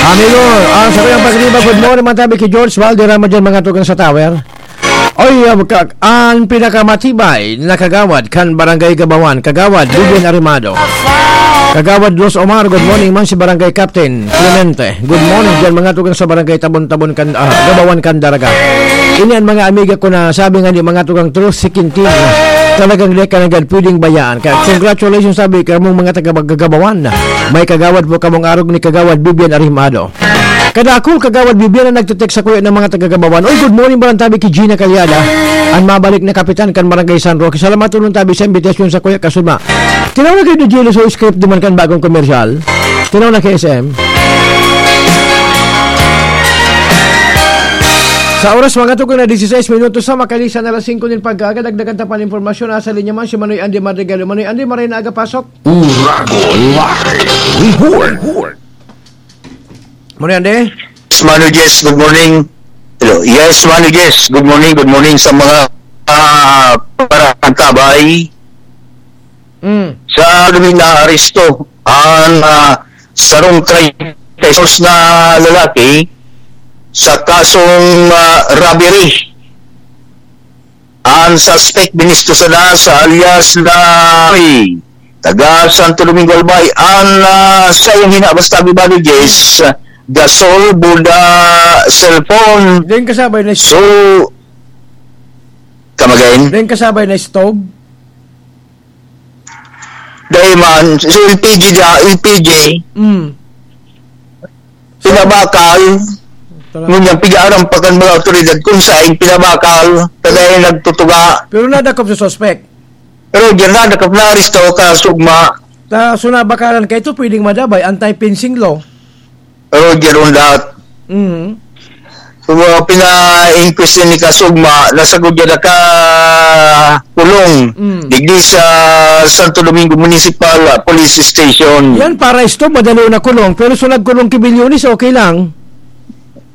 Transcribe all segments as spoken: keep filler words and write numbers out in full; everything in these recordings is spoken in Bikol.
Amigo, ang sa kuyang pagriba, good morning, mga tabi, ki George Valderrama dyan, mga tugang sa tower. Oy, ah, ka-, ang pinakamatibay na kagawad kan Barangay Gabawan, Kagawad Vivian Arimado. Kagawad Los Omar, good morning man si Barangay Captain Clemente. Good morning dyan, mga tugang sa Barangay Tabon-Tabon kan, ah, Gabawan kan Daraga. Ini ang mga amiga ko na sabi nga ni mga tugang truth si Quintin. Talagang di ka na gad pwedeng bayaan. Kaya congratulations, sabi ka mong mga taga Gabawan. May kagawad po kamong arog ni Kagawad Vivian Arimado. Kadakul, Kagawad Bibian, ang nagte-text sa kuya ng mga taga-Gabawan. Oy, good morning, Barantabi, ki Gina Calyada. Ang mabalik na kapitan kan Barangay San Roque. Salamat tulong tabi sa imbitasyon sa kuya Kasuma. Tinaw na kayo ni Jello sa script duman kan bagong komersyal. Tinaw na kay S M. Sa oras, mga tugon na dieciséis minutos sa makalisan na alas singko nin pagkaaga, dagdagan ta pa ng impormasyon. Nasa linya man si Manoy Andy Madrigal. Manoy Andy, maray na aga pasok. Uragon Live Report. Morning, Andy. Yes, Mano Jess, good morning. Hello. Yes, Mano Jess, good morning, good morning sa mga, ah, Barantabay. Mm. Sa Lumin na aresto ang, ah, sarong treinta y dos na lalaki sa kasong, ah, robbery. Ang suspect, binisto sana sa alias na Roy, taga Santo Domingo, Albay. Ang, ah, saiyang hinabas, tabi ba ni Jess, gasol, buda, cellphone. Dahil kasabay na So, kamagain? Dahil kasabay na stove? Dahil man, so L P G da, L P G. Mm. Pinabakal. Talaga. Ngunyan, pig-aaram pa kan mga awtoridad kung saing pinabakal, kaya nagtutuga. Pero nadakop sa suspect? Pero diyan nadakop, naaresto ka, sugma. Ta, so nabakalan ka ito, pwedeng madabay, anti-fencing law. Pero diyan on that. Mhm. So, uh, pina-inquest ni Kasugma, nasagod niya na ka kulong. Mm. Digdi sa Santo Domingo Municipal, uh, Police Station. Yan, para isto, madali na kulong. Pero so nagkulong ki Bilyones, okay lang.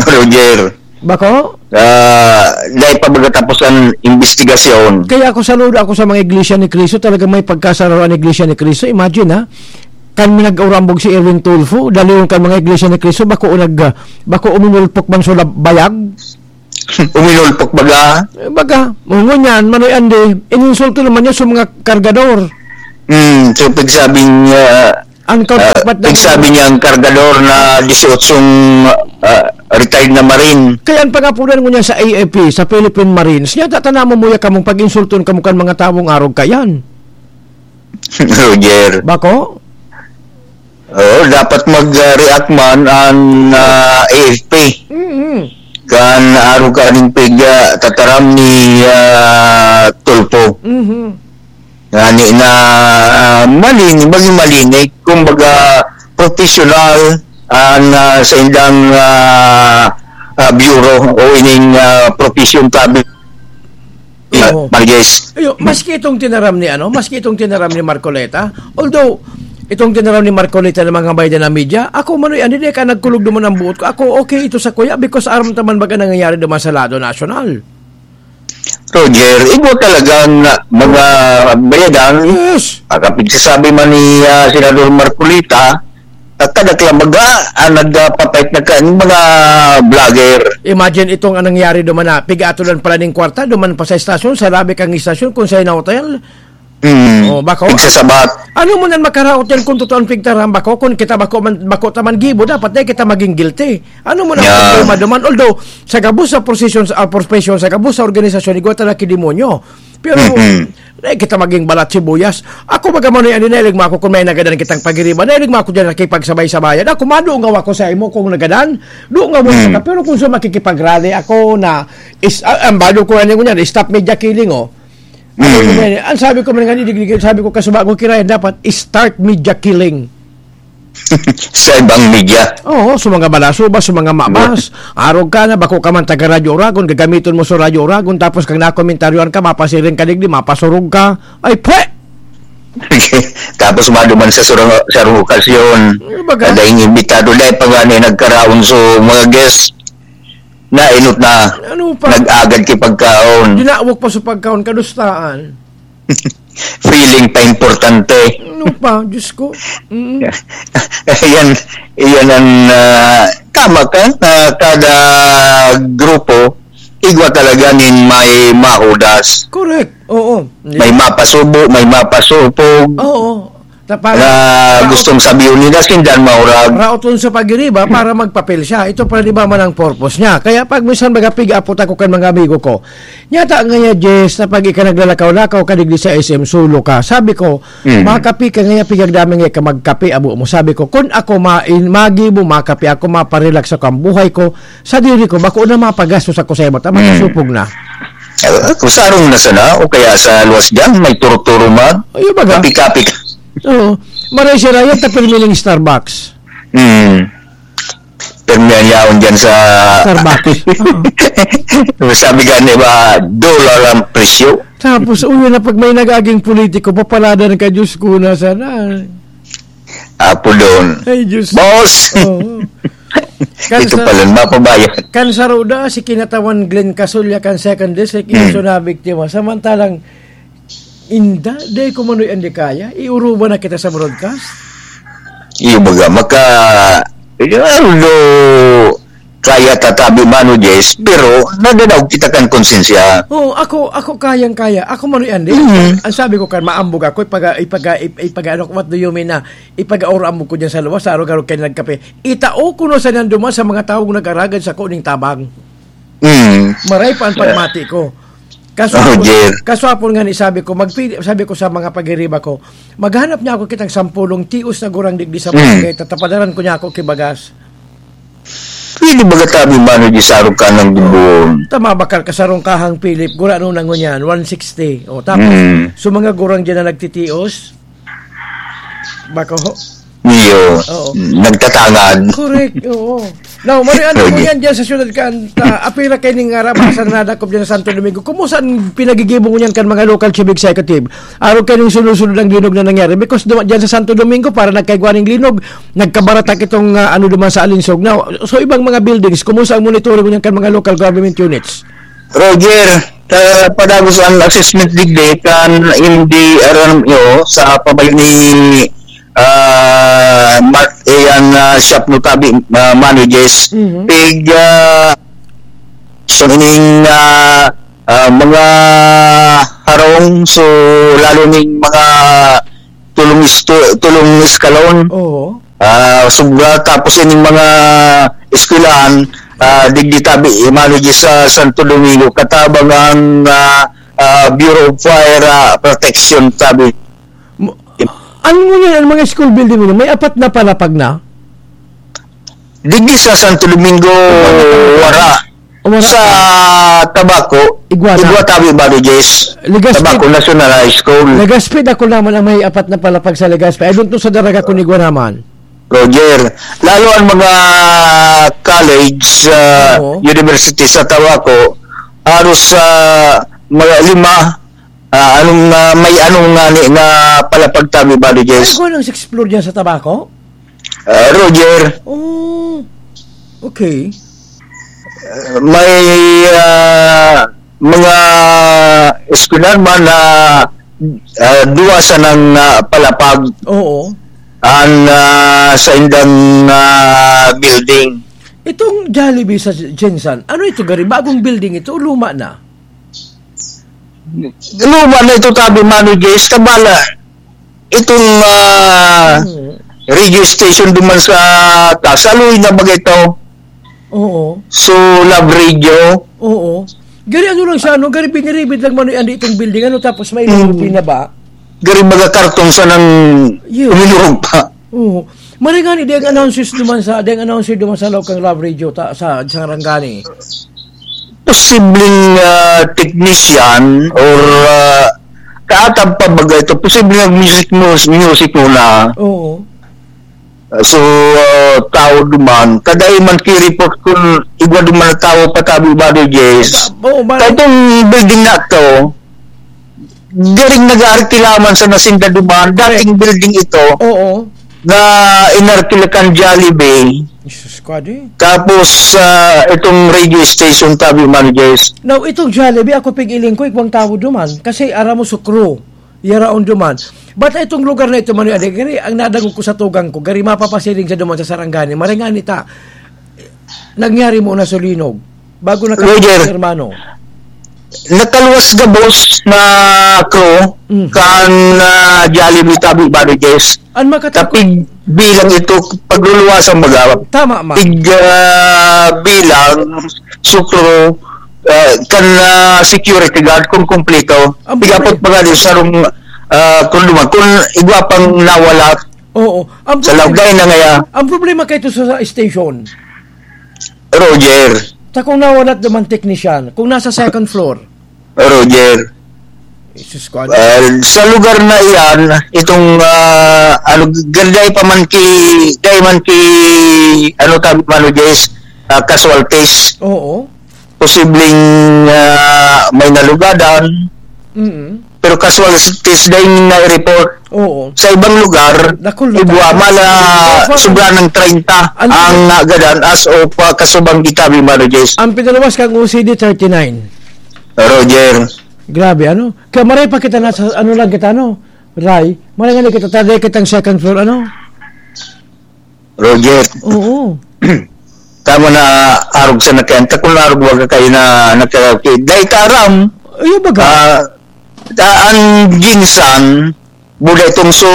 Roger. Bako? Ah, dahil pa baga tapos ang investigasyon. Kaya ako saludo ako sa mga Iglesia ni Cristo, talaga may pagkasararoan ang Iglesia ni Cristo. Imagine, ha? Kan nag-urambog si Erwin Tulfo, dalion kan mga Iglesia ni Cristo, bako nag, ah, bako uminulpok man sa lab-, bayag. Uminulpok baga? Eh, baga, ngunyan, Manoy Andy, ininsulto naman niya sa mga kargador. Hmm, so pagsabi niya, Ang ah, counterpart ng pagsabi niya ang kargador na dieciocho, ah, retired na Marine. Kaya ang pangapunan ko niya sa A F P, sa Philippine Marines, niya tatanamo mo ya kamong pag-insulton kamo kan mga tawong arog kayan. Roger. Bako? Oo, dapat mag-react man ang, ah, A F P. Mm-hmm. Kan arog kaning pig, ah, tataram ni, ah, Tulfo. Mm-hmm. Ngani na, ah, malinig, maging malinig, kumbaga, professional ang, ah, sa indang, ah, ah, bureau o ining, ah, profession tabi. Oo. Marges. Ayo, maski itong tinaram ni, ano, maski itong tinaram ni Marcoleta, although, itong tinaram ni Marcoleta ng mga bayan na media, ako, Manoy Andy, di ka nagkulog naman ang buot ko. Ako, okay ito sa kuya because aram taman baga nangyayari naman sa lado nasyonal. Roger, igwa talagang mga bayadan, Yes. Ang kapigsasabi man ni, ah, Senador Marcoleta, kadakla baga ang nagpapait na kan mga vlogger. Imagine itong anong nangyari duman na pig-atolan pala ning kwarta, duman pa sa estasyon, sa labi kang estasyon, kung sa hotel. Hmm. Oh, bako. Pigsasabat. Ano mo nan makaraot yan kung totoo ang pigtaram, bako? Kung kita bako man, bako ta man gibo, dapat na kita maging guilty. Ano mo nan Yeah. problema duman? Although, sa gabos sa prosesyon, sa, ah, profesyon, sa gabos sa organisasyon, igwa talaga ki demonyo. Pero, Mm-mm. eh, kita maging balat sibuyas. Ako baga man, ano, nailig mo ako kung may nagadan kitang pagiriba. Nailig mo ako dyan nakipagsabay-sabayan. Ako, madungaw ako sa imo kung nagadan. Dungaw mo Mm. ka. Pero kung sa makikipagrally ako na, is, ah, ang bado ko, ano ko niyan, stop media killing, oh. Ano ko Mm. niyan, ang sabi ko man nga, digdig, sabi ko, kasuba ko, kirayan, dapat start media killing. Sa ibang media. Oo, sa mga balasoba, sa mga mabas. Arog ka na, bako ka man taga Radyo Oragon, gagamiton mo sa Radyo Oragon, tapos kag nakomentaryoan ka, mapasiring ka digdi, mapasurog ka. Ay, pwe! Tapos maduman sa surang, sarong okasyon, Ano ba ka? Kada yung imbitado na ipangani nagkaraon sa mga guest, nainot na, Ano pa? Nag-agad ki pagkaon. Dinawok pa sa pagkaon, kadustaan. Feeling pa importante. Ano pa, Diyos ko? Mm. Yan, yan ang, ah, tama ka, na kada grupo, igwa talaga nin may mahudas. Correct. Oo. May mapasubo, may mapasupog. Oo. Ta-, para, Na para gustong sabihin nila, sindan maurag. Raot sa pagiriba para magpapel siya. Ito pa, di ba, man ang purpose niya. Kaya pag minsan mag-apig-apot ako kan mga amigo ko, Nyata nga ya, Jess, na pag ika naglalakaw-lakaw ka digdi sa S M, solo ka. Sabi ko, Mm. "Makape ka ngaya, pigagdaming ngaya ka magkape, abo mo." Sabi ko, "Kun ako ma-, in-, magi mo, makape ako, maparelax ako ang buhay ko, sa diri ko, bako na mapagastos ako sa iba, ta Mm. makasupog na." Eh, kung sarong na sana, o kaya sa luwas dyan, may turo-turo man. Ayun baga. Kape-kape ka. Oo. Maray siya, Ryan, tapil miling Starbucks. Mm. Pero may yaon dyan sa Starbucks. Oo. Sabi gani ba, dollar ang presyo. Tapos, uyo na pag may nagaging politiko, papaladan ka, Diyos ko, na sana. Apo doon. Ay, Diyos. Boss! Oo. Kan Ito sa, pala, mapabayad. Kan sa Roda, si Kinatawan Glenn Casulya, kan second district, Mm. iso na biktima. Samantalang, Inda, dai ko manoy an di kaya. Iuruba na kita sa broadcast. Iyo baga, maka, although kaya tatabi mano, Jess, pero nadanaw kita kan konsensya. Oo, ako, ako kayang-kaya. Ako manoy an di. Mhm. Ang sabi ko kan, maambog ako, ipaga-, ipaga-, ip-, ipaga-, ano, what do you mean na ipag-aor-ambog ko dyan sa luwas, sa arog-arog kayo nagkape? Itao ko na sa nanduman sa mga taong nag-aragad sa kuning tabang. Mm. Maray pa ang pagmati ko. Kaso Oh, apon, dear. kaso apon nga ni sabi ko, magpili, sabi ko sa mga pagiriba ko, "Maghanap niya ako kitang sampulong tios na gurang digdi sa Mm. barangay, tatapadaran ko niya ako kibagas." Pwede ba gatabi mano di sarong kanang dubon? Tama, bakal kasarong kahang Philip, gura nung nangunyan, one sixty. O, tapos, Mm. so mga gurang dyan na nagtitios, Bako ho? Niyo, Oo. nagtatangad. Correct, oo. Now, mari ano mo Pwede. yan dyan sa syudad kan, ta, apira kay ning arabasan na nadakop dyan sa Santo Domingo. Kumusta ang pinagigibo ngunyan kan mga local chief executive? Araw kay ning sunod-sunod ang linog na nangyari. Because duma-, dyan sa Santo Domingo, para nagkaigwa ning linog, nagkabaratak itong, ah, ano duman sa Alinsog. Now, so ibang mga buildings, kumusta ang monitoring ngunyan kan mga local government units? Roger, sa padagos an assessment digdi kan M D R M O sa pabayo ni, ah, Mark Ian, ah, Shop Notabi, ah, Manages, Mhm. pig, ah, so ining, ah, ah, mga harong, so lalo ning mga tulong isto-, tulong eskalon. Oo. Ah, sobra, tapos ining mga eskwelahan, ah, digdi tabi, imano di sa Santo Domingo, katabang ang, ah, ah, Bureau of Fire, ah, Protection tabi. Mo-, ano mo yan, ang mga school building mo, may apat na palapag na? Digdi sa Santo Domingo, wala. Wala. Sa Tabaco, Iguana. Iguatabi Barriges, Legazpi. Tabaco National High School. Legazpi, dako naman ang may apat na palapag sa Legazpi. I don't know sa Daraga kung Iguana man. Roger, lalo ang mga college, ah, Oo. university sa Tabaco, halos, ah, mga lima, ah, anong, ah, may anong nga ni, nga palapag tabi Ay, Barriges. Iguana ang sixth floor dyan sa Tabaco? Ah, Roger. Oh, okay. Ah, may, ah, mga eskwelahan man na, ah, duwa sanang, ah, palapag Oo. an, ah, sa indang, ah, building. Itong Jollibee sa Jensan, ano ito, gari? Bagong building ito o luma na? Luma na ito, tabi Mano Jace, kabala. Itong, ah, Hmm. radio station duman sa taas, aloy na baga ito. Oo. So, Love Radio. Oo. Gari ano lang siya, no? Gari biniribid lang manoy andi itong building, ano, tapos may Hmm. pinaba. Gari baga karton sa nang Yun. uminuog pa. Oo. Maray ngani, di ang announcers duman sa, di ang announcer duman sa loob kang Love Radio ta, sa, sa Sarangani. Posibleng, ah, technician or, ah, kaatag pa baga ito, posibleng nag-music, mus-, music muna. Oo. Ah, so, ah, tao duman, kadai man ki-report kun igwa duman na tao patabi ba, Jace? Ba-, oo, ba- Kaya itong building na to, garing nag-aarkila man sa nasinda duman, dating building ito Oo. na inarkila kan Jollibee. Jesus, kwadi. Tapos, ah, itong radio station, tabi man, Jace. Now, itong Jollibee, ako pig-iling ko, ikwang tao duman. Kasi, aram mo, sukro. Yara on duman. But itong lugar na ito, Manoy Adi, gari, ang nadangog ko sa tugang ko, gari mapapasiring sa duman sa Sarangani. Maray ngani ta, nangyari mo na sulinog. Bago na Roger. Hermano. Nakaluwas gabos na crew Mm. kan, ah, Jollibee tabi Barriges. An makatakot. Tapi bilang ito, pagluluwasan baga, Tama, ma. tig, ah, bilang, sukro, ah, kan, ah, security guard kung kumpleto. Ang Tigapot problema. pa nga din sarong, ah, kung duman, kung igwa pang nawala Oo. Ang sa problema, Laugay na ngaya. ang problema kayo sa, sa station. Roger. Sa kung nawala naman technician, kung nasa second floor. Roger. Jesus ko, ano? Ah, sa lugar na iyan, itong, ah, ano, dai pa man ki, dai man ki, ano, tabi, Mano Jess, ah, casualties. Oo. Posibleng, ah, may nalugadan. Mm. Pero casualties dai na-report. Oo. Sa ibang lugar, Dakul na igwa tayo. mala Opa. sobra ng treinta Ano ang ba? nagadan as of, ah, kasubang gitabi, Mano Jess. Ang pinaluwas kang O C D thirty-nine. Roger. Grabe, ano? Kaya maray pa kita nasa, ano lang kita, ano? Ray, maray nga na kita, taday kitang second floor, ano? Roger. Oo. Tama na, arog sa nakayanta, kung arog baga kayo na nagkakapit. Dahil ka aram, Ayun baga? ah, ta-, ang ginsan, buda itong so,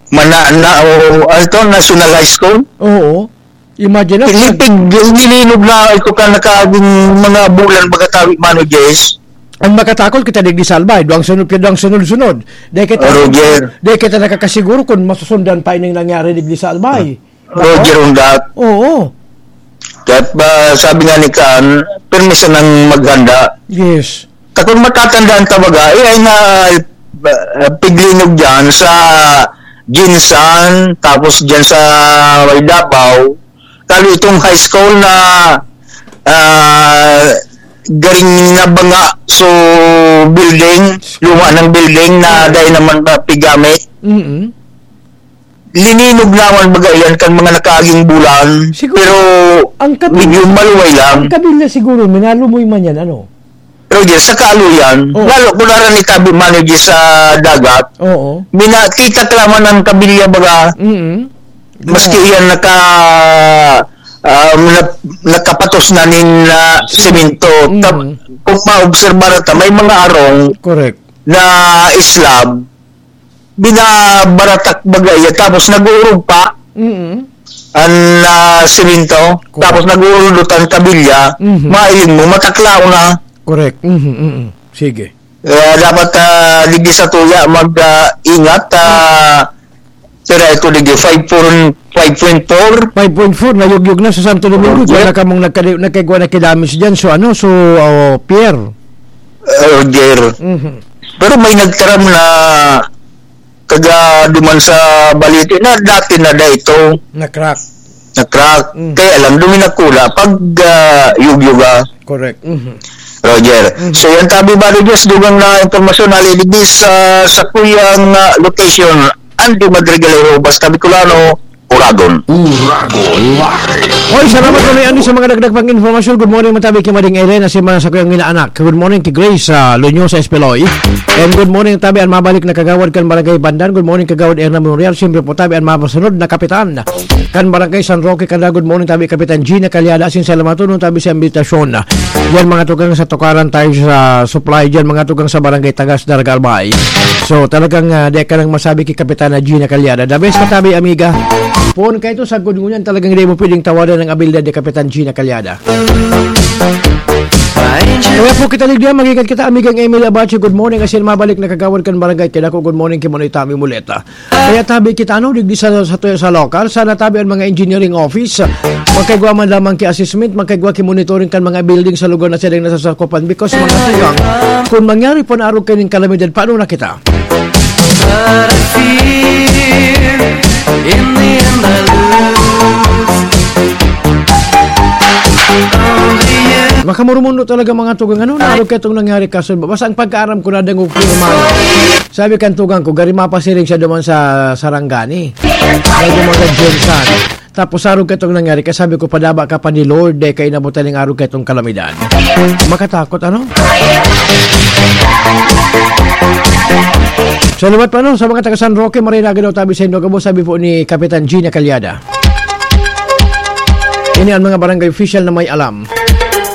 mana-, na, o, ano to, National High School? Oo. Imagine na. Lipig, nilinog na ito ka nakaging mga bulan, baga tawi, Mano Jess. Ang makatakot kita digdi sa Albay, duwang sunod ka, duwang sunod-sunod. Dahil kita, Oh, Roger. dahil kita nakakasiguro kung masusundan pa ining nangyari digdi sa Albay. Roger, Undat. Oo. Kaya ba, sabi nga ni Kaan, pirmi sanang maghanda. Yes. Ta kung matatandaan ta baga, eh, ay na, ah, piglinog dyan sa Ginsan, tapos dyan sa may Davao. Kalo itong high school na, ah, garing nabanga, so building, luma ng building na dahil naman na pigami. Mm-mm. Lininog naman baga iyan kan mga nakaaging bulan, Siguro, pero ang kabil-, medyo maluway lang. ang kabilya siguro, minalumoy man yan, ano? Pero diyan, sa kaaloyan, Oh. lalo ko na rin itabi manager sa dagat, Oo. mina-, titaklaman ang kabilya baga, Mm-mm. maski Grabe. iyan naka-, ah, na-, nakapatos na nin, ah, Sige. semento. Ta-, Mm. kung maobserbahan ta, may mga arong Correct. na slab, binabaratak baga iya, tapos nag-uurog pa Mm. ang, ah, semento, Correct. tapos nag-uurog ang kabilya, Mhm. mailing mo, mataklaw na. Correct. Mhm, mhm. Sige. Kaya dapat, ah, digdi sa tuya, mag, ah, ingat, ah, sira ito digdi, five four, five point four. Five point four, nayugyog na sa Santo Domingo. Correct. Igwa na kamong nagkadi-, nagkaigwa na kidamis dyan. So, ano, so, oh, Pierre? Roger. Mhm. Pero may nagtaram na taga duman sa Balite na dati na da ito Na-crack. na-crack. Mm. Kaya lang, duminakula pag, ah, yugyuga. Correct. Mhm. Roger. Mhm. So, yan tabi ba, Roger, sa dugang na impormasyon na liligis sa, sa kuyang, ah, location, Andy Madrigalero, Basta Bicolano, Uragon. Uragon Live. Hoy, salamat kami, Andy, sa mga dagdag pang informasyon. Good morning, matabi kay Mading Irene, si mga sa kuyang inaanak. Good morning kay Grace, ah, Lunyosa Espeloy. And good morning, tabi, ang mabalik na kagawad kan Barangay Bandan. Good morning, Kagawad Erna Memorial. Siyempre po, tabi, ang mapasunod na kapitan kan Barangay San Roque, Candaba. Good morning, tabi, Kapitan Gina Calyada. Asin sa lamatunon, tabi, sa imbitasyon. Yan, mga tugang sa Tukaran tayo sa supply. Yan, mga tugang sa Barangay Tagas, Daraga, Albay. So, talagang, ah, di ka nang masabi kay Kapitana Gina Calyada. The best ka tabi, amiga. Poon ka ito, sagkod ngunyan, talagang di mo pwedeng tawadan ang abilidad ni Kapitan Gina Calyada. Kaya po kita, Lydia, mag-ingat kita, amigang Emily Abacho, good morning. Asin mabalik na kagawad kan Barangay Kidako, good morning, Kimonoy Tami Muleta. Kaya tabi kita, ano, digdi sa, sa, sa lokal, sana tabi ang mga engineering office, magkaigwa man lamang ki assessment, magkaigwa ki monitoring kan mga building sa lugar na silang nasasakupan. Because, mga tugang, kung mangyari po na arog kaning kalamidad, paano na kita? But I fear, in the end I lose. Only you. Makamurumundo talaga, mga tugang, ano, na arog ka itong nangyari kaso. Basta ang pagkaaram ko, nadangog ko naman. Sabi kan tugang ko, gari mapasiring siya duman sa Sarangani. May duman sa Jensan. Tapos arog ka itong nangyari, kaya sabi ko, "Padaba ka pa ni Lord, eh, kaya inabutan ng arog ka itong kalamidad." Makatakot, ano? Salamat pa, no, sa mga taga San Roque, Marinaga daw tabi sa Indoor Gabo, sabi po ni Kapitan Gina Calyada. Ini ang mga barangay official na may alam.